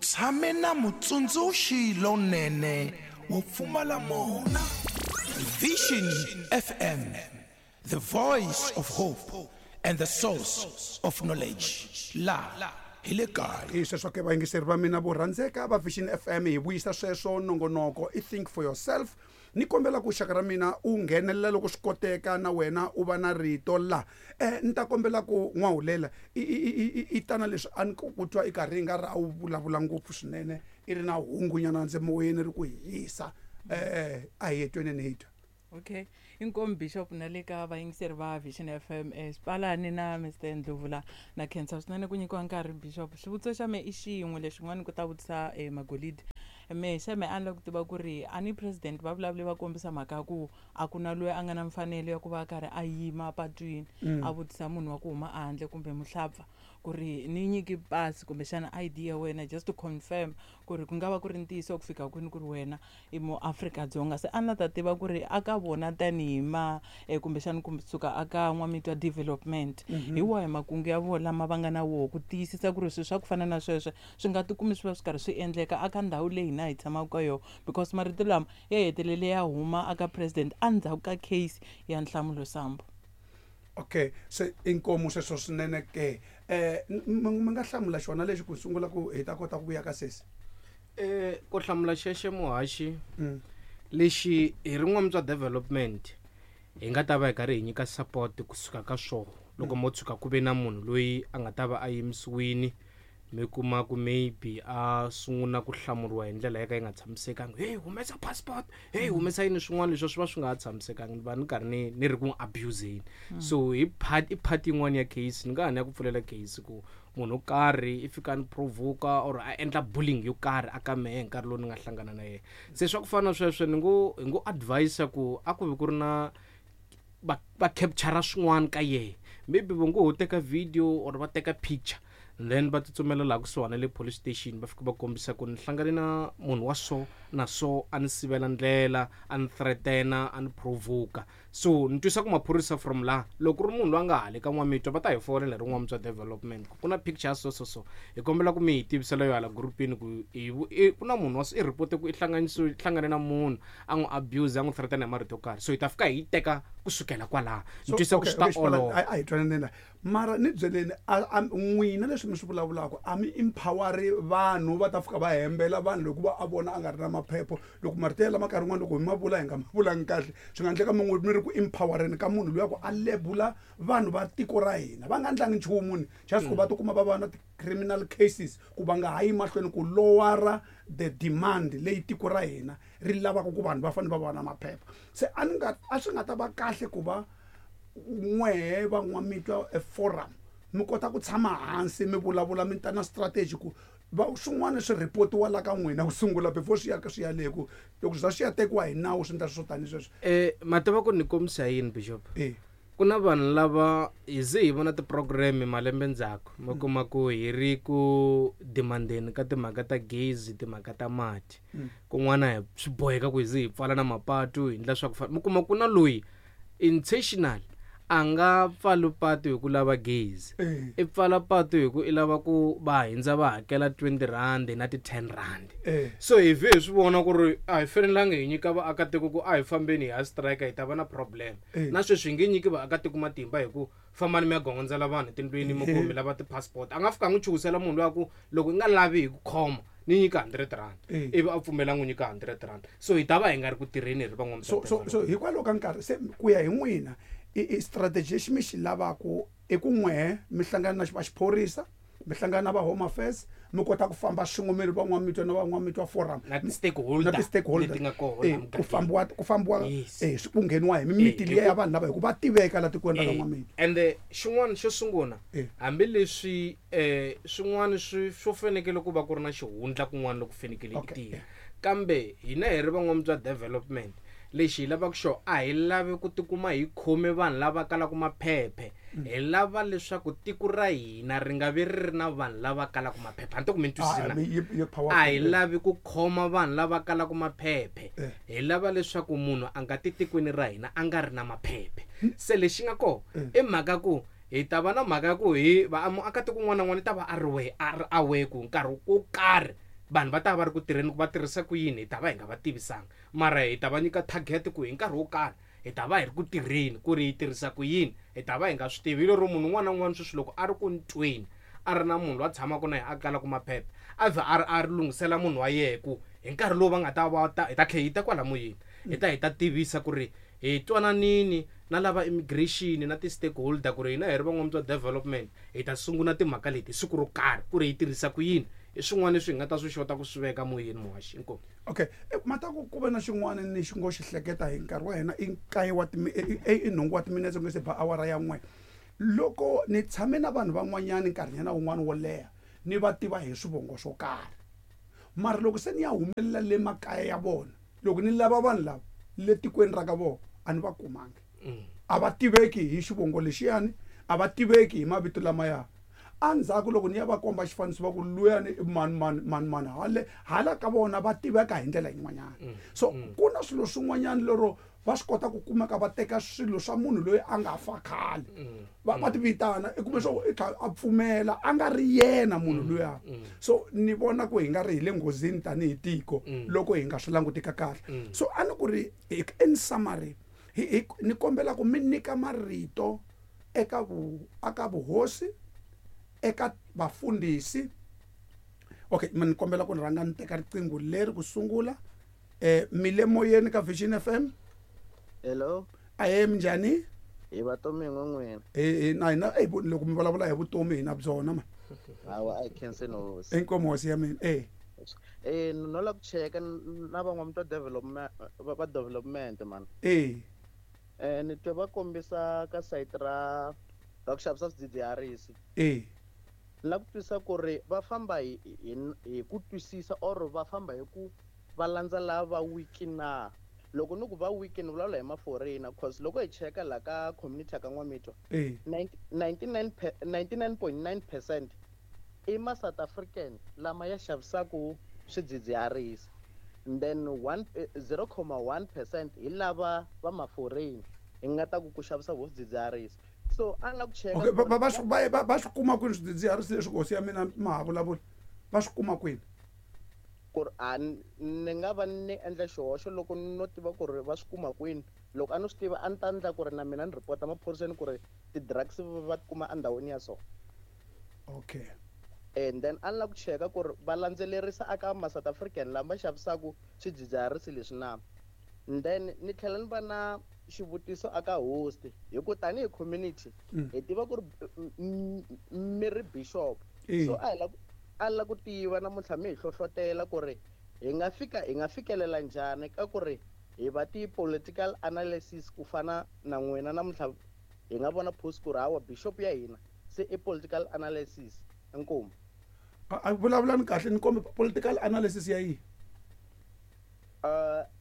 tshame na mutsundzuxi lonene wo pfumala mona. Vision FM, the voice of hope and the source of knowledge. La hi le kaya. Hi sweswo ke vayingiseri va mina vo rhandzeka va Vision FM, hi vuyisa sweswo nongonoko i Think for Yourself. Ni kombela ku xaka ra mina u nghenelela loko swi koteka na wena u va na rito la. Ni ta kombela ku n'wahulela i tana leswi a ni ku twa i karhi i nga ri a wu vulavula ngopfu swinene, i ri na hungunyana ndze moyeni ri ku hisa. A hi tweneni hi twa. Okay, inkomu Bishop na le ka vayingiseri va Vision FM, Xipalani na Mister Ndlovu la. Na khensa swinene ku nyikiwa nkarhi Bishop. Xivutiso xa me i xin'we lexin'wana ku ta vutisa Magolidi. Me xa me a ni lava ku tiva ku ri a ni president va vulavule va kombisa mhaka ya ku a ku na loyi a nga na mfanelo ya ku va a karhi a yima patwini a vutisa munhu wa ku huma ehandle kumbe muhlapfa ku ri ni nyiki pasi kumbexana ID ya wena just to confirm ku ri ku nga va ku ri ntiyiso ku fika kwini ku ri wena i mu Afrika-Dzonga. Se a ni la ta tiva ku ri a ka vona tanihi ma kumbexana kusuka a ka N'wamitwa Development, hi wahi makungu ya vona lama va nga na woho ku tiyisisa ku ri swilo swa ku fana na sweswo swi nga tikumi swi va swi karhi swi endleka aka ndhawu leyi hina hi tshamaka ka yona, because marito lama ya hetelele ya huma aka president endzhaku ka case ya Nhlamulo Sambo. Okay, se inkomu sweswo swinene ke. Mi nga hlamula xona lexi ku sungula ku hi ta kota ku vuya ka sesi? Ku hlamula xexo muhaxi, lexi hi ri N'wamitwa Development hi nga ta va hi karhi hi nyika support kusuka ka swoho. Loko mo tshuka ku ve na munhu loyi a nga ta va a yimisiwini, mi kuma ku maybe a sungula ku hlamuriwa hi ndlela ya ka yi nga tshamisekanga, hey humesa passport, hey humesa yini, swin'wana leswi swi va swi nga ha tshamisekanga, ni va ni karhi ni ri ku n'wi abuseni. So hi part, i part yin'wana ya case, ni nga ha ni ya ku pfulela case ku munhu wo karhi i fika a ni provoka or a endla bullying yo karhi a ka mehe hi nkarhi lowu ni nga hlangana na yena. Se swa ku fana na sweswo ni ngo, hi ngo advise ku a ku vi ku ri na va capture swin'wana ka yena, maybe va ngo ho teka video or va teka picture, and then va tsutsumela laha kusuhana le police station, va fika va kombisa ku ni hlangane na munhu wa so na so, a ni sivela ndlela, a ni threatena, a ni provoka. So ni twisa ku maphorisa from laha, loko ku ri munhu loyi a nga hali ka N'wamitwa, va ta hi fonela hi ri N'wamitwa Development ku ku na picture ya so so so, hi kombela ku mi hi tivisela yo hala groupini ku ku na munhu wa so, i report ku i hlangane na munhu a n'wi abuse, a n'wi threatena hi marito yo karhi. So hi ta fika hi yi teka kusukela kwalaho. Ni So, twisa ku okay, swi ta okay, Xipalani, olova. a hi twananeni la. Mara ni byeleni, n'wina leswi mi swi vulavulaka, a mi empoweri vanhu va ta fika va hembela vanhu loko va a vona a nga ri na maphepho. Loko marito ya lama nkarhi wun'wani loko hi ma vula hi nga ma vulangi kahle, swi nga endleka mi n'wi mi ri ku empowereni ka munhu luya ku a lebula vanhu va tiko ra hina va nga endlangi nchumu ni just ku va tikuma va va na ti-criminal cases, ku va nga ha yi mahlweni ku lowara the demand leyi tiko ra hina ri lavaka ku vanhu va fanele va va na maphepha. Se a ni nga, a swi nga ta va kahle ku va n'wehe va N'wamitwa e forum mi kota ku tshama hansi mi vulavula, mi ta na strategy ku va swin'wana swi reportiwa la ka n'wina ku sungula before swi ya ka swi ya le ku loko swi za swi ya tekiwa hi nawu swi endla swo tani sweswo. Ma tiva ku ni kombisa yini Bishop? Ku na vanhu lava hi ze hi vona ti-program malembe ndzhaku, mi kuma ku hi ri ku demandeni ka timhaka ta gezi, timhaka ta mati. Kun'wana hi swi boheka ku hi ze hi pfala na mapatu hi endla swa ku fana. Mi kuma ku na loyi intentional a nga pfali patu hi ku lava gezi, i pfala patu hi ku i lava ku va hindza va hakela 20 rand na ti 10 rand. So hi vhe hi swi vona ku ri a hi fanelanga hi nyika vaakatiko ku a hi fambeni hi ya strike, hi ta va na problem. Na sweswi hi nge nyiki vaakatiko matimba hi ku fambani mi ya gongondzela vanhu etindlwini mi ku mi lava ti-passport. A nga fika a n'wi chuhisela munhu loyi a ku loko i nga lavi hi ku khoma ni nyika 100 rand, ivi a pfumela n'wi nyika 100 rand. So hi ta va hi nga ri ku tirheni hi ri van'wamabindzu. So hikwalaho ka nkarhi se ku ya hi n'wina i strategy lexi mi xi lavaka i ku n'wehe mi hlangana na va xiphorisa, mi hlangana na va Home Affairs, mi kota ku famba swin'we mi ri van'wamitwa na van'wamitwa forum. Na ti-stakeholder Na ti-stakeholder. leti nga kona mugangeni. Ku fambiwa, ku fambiwa, swi ku ngheniwa hi mimiti liya ya vanhu lava hi ku va tiveka la tikweni ra ka N'wamitwa. Ende xin'wana xo sungula, hambileswi swin'wana swo fanekele ku va ku ri na xihundla kun'wana loko fanekele i tirha, kambe hina hi ri van'wamitwa development, lexi hi lavaka xona a hi lavi ku tikuma hi khome vanhu lava kalaka maphephe. Hi lava leswaku tiko ra hina ri nga vi ri ri na vanhu lava kalaka maphephe. A ni to ku mi ni twisisa na? Yi powerful. A hi lavi ku khoma vanhu lava kalaka maphephe. Hi lava leswaku munhu a nga ti tikweni ra hina a nga ri na maphephe. Se lexi nga kona i mhaka ku hi ta va na mhaka ya ku hi va muakatiko un'wana na un'wana i ta va a ri we, a ri aware ku nkarhi wo karhi Vanhu va ta va ri ku tirheni ku va tirhisa ku yini hi ta va hi nga va tivisanga, mara hi ta va nyika target ku hi nkarhi wo karhi hi ta va hi ri ku tirheni ku ri hi tirhisa ku yini hi ta va hi nga swi tivi. Hi lero munhu un'wana na un'wana sweswi loko a ri ku ntweni a ri na munhu loyi a tshamaka na yena a kalaka maphepha a vhe a ri a ri lunghisela munhu wa yehe ku hi nkarhi lowu va nga ta va ta hi ta tlhela hi ta kwala moyeni hi ta hi ta tivisa ku ri hi twananini na lava immigration na ti-stakeholder ku ri hina hi ri van'wamutwa development hi ta sungula timhaka leti siku ro karhi ku ri hi tirhisa ku yini. I swin'wana leswi hi nga ta swi xota ku swi veka moyeni muhaxi. Inkomu. Okay, mata ku ve na xin'wana ni xi ngo xi hleketa hi nkarhi wa hina i nkaye wa i nhungu wa timinetse ku nge se ba awara ya 1. Loko ni tshame na vanhu van'wanyana nkarhinyana wun'wana wo leha ni va tiva hi swivongo swo karhi, mara loko se ni ya humelela le makaya ya vona, loko ni lava vanhu lava le tikweni ra ka vona a ni va kumangi. A va tiveki hi xivongo lexiyani, a va tiveki hi mavito lamaya. Endzhaku loko ni ya va komba xifaniso va ku luyani i mani mani mani mani, hale hala ka vona va tiveka hi ndlela yin'wanyana. So ku na swilo swin'wanyana lero va swi kota ku kumeka va teka swilo swa munhu loyi a nga fa khale va ti vitana, i kume swo i kha a pfumela a nga ri yena munhu luya. So ni vona ku hi nga ri hi le nghozini tanihi tiko loko hi nga swi langutika kahle. So a ni ku ri in summary ni kombela ku mi nyika marito eka aka vuhosi, eka vafundhisi. Okay, mi ni kombela ku ni rhanga ni teka riqingho leri ku sungula. Mi le moyeni ka Vision FM. Hello. Ahe, minjhani? Hi vatomi n'win'wina. Na hina loko mi vulavula hi vutomi hi na byona ma. Hawa, a hi khenseni hosi. Inkomu hosi ya mina. No la ku cheka na van'wamutwa development va development man. Ni twe va kombisa ka site ra ku xavisa swidzidziharisi. La ku twisisa ku ri va famba hi ku twisisa or va famba hi ku va landza lava wiki na. Loko ni ku va wiki ni vulavula hi ma-foreigner, cause loko hi cheka la ka community ya ka N'wamitwa, 99.9% i ma South African lama ya xavisaku swidzidziharisi, and then 0.1% hi lava va ma-foreign hi nga ta ku ku xavisa vo swidzidziharisi. So a ni la ku cheka Okay, va swi kuma kwini swidzidziharisi leswi hosi ya mina ma ha vulavula? Va swi kuma kwini? Ku ri a ni nga va ni endla xihoxo loko no tiva ku ri va swi kuma kwini. Loko a no swi tiva a ni ta endla ku ri na mina ni report-a maphoriseni ku ri ti-drugs va ti kuma endhawini ya so. Okay. And then a ni la ku cheka ku ri va landzelerisa aka ma South African lama xavisaka swidzidziharisi leswi na. And then ni tlhela ni va na xivutiso aka host, hi ku tanihi community hi tiva ku ri mi ri bishop. So a hi la a la ku tiva namuntlha mi hi hlohlotela ku ri hi nga fika hi nga fikelela njhani ka ku ri hi va ti-political analysis ku fana na n'wina namuntlha hi nga vona post ku ri hawa bishop ya hina se i political analysis. Inkomu. A vulavulani kahle ni kombe political analysis ya yihi?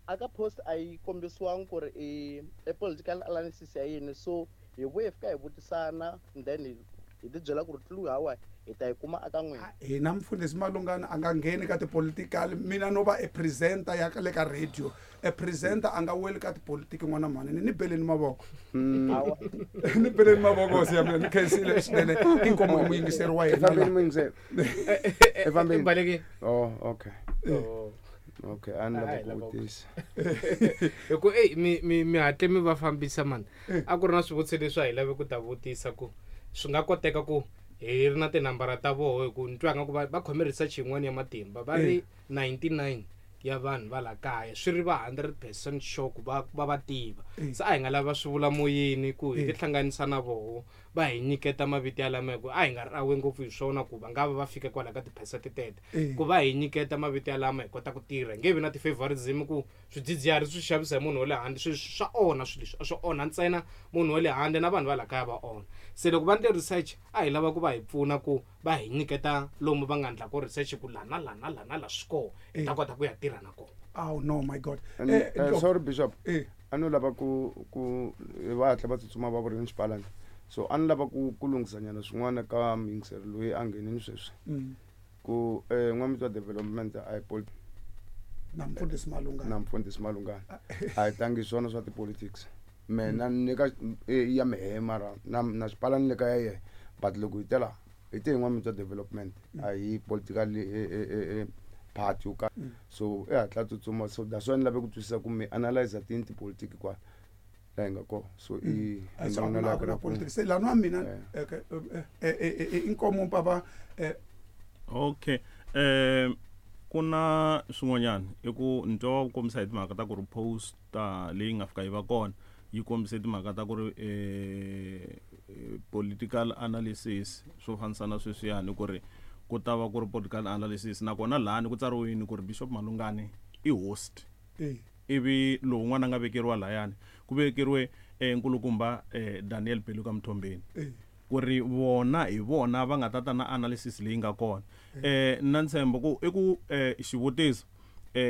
Aka post a yi kombisiwangi ku ri i political analysis ya yini, so hi vuye fika hi vutisana and then hi ti byela ku ri clue hawa hi ta yi kuma aka n'wina. Hina mfundhisi Malungana a nga ngheni ka tipolitical, mina no va e presenter ya le ka radio. E presenter a nga weli ka tipolitiki n'wana mhani, ni beleni mavoko. Ni beleni mavoko hosi ya mina, ni khensile swinene. Inkomu i muyingiseri wa hina. Efambeni muyingiseri. Efambeni. Balekile. Oh, okay. Okay, a ni lava ku vutisa. Hi ku mi hatle mi va fambisa mani. A ku ri na swivutiso leswi a hi lave ku ta vutisa ku swi nga koteka ku hi ri na tinambara ta voho, hi ku ni twa nga ku va khome research yin'wana ya matimba va ri 99 ya vanhu va la kaya swi ri va 100% sure ku va va tiva. Se a hi nga lava swi vula moyeni ku hi tihlanganisa na voho va hi nyiketa mavito ya lama, hi ku a hi nga ri awe ngopfu hi swona ku va nga va va fika kwala ka ti-percent tete, ku va hi nyiketa mavito ya lama hi kota ku tirha. Nge vi na ti-favorism ku swidzidziharisi swi xavisa hi munhu wa le handle, swi swa onha swilo leswi, a swi onha ntsena munhu wa le handle na vanhu va la kaya va onha. Se loko va endle research a hi lava ku va hi pfuna ku va hi nyiketa lomu va nga endla ko research ku la na la na la na la swi kona, hi ta kota ku ya tirha na kona. Oh no, my God. Sorry Bishop. A no lava ku va hatla va tsutsuma va vurini xipalani. So a ni lava ku lunghisanyana swin'wana ka muyingiseri loyi a nghenini sweswi. Ku N'wamitwa development a hi na mfundhisi Malungana. Na mfundhisi Malungana. A hi tlangi swona swa ti-politics. Mina ni ka ya mehe mara na xipalani le ka ya yehe, but loko hi tela hi te hi N'wamitwa development a hi political party yo karhi. So i hatla tsutsuma. So that's why ni lave ku twisisa ku mi analyze tini tipolitiki kwala laha hi nga kona. So i A so a ku na- a ku na politics. Se lani wa mina inkomo papa Okay, ku na swin'wanyana i ku ni twa va kombisa hi timhaka ta ku ri poster leyi nga fika yi va kona yi kombise timhaka ta ku ri political analysis, swo fanisa na sweswiyani ku ri ku ta va ku ri political analysis, nakona lahani ku tsariwini ku ri Bishop Malungani i host. Ivi lowun'wana a nga vekeriwa layani ku vekeriwe nkulukumba Daniel Peluka Mthombeni. Ku ri vona hi vona va nga ta ta na analysis leyi nga kona. Na ntshembo ku i ku xivutiso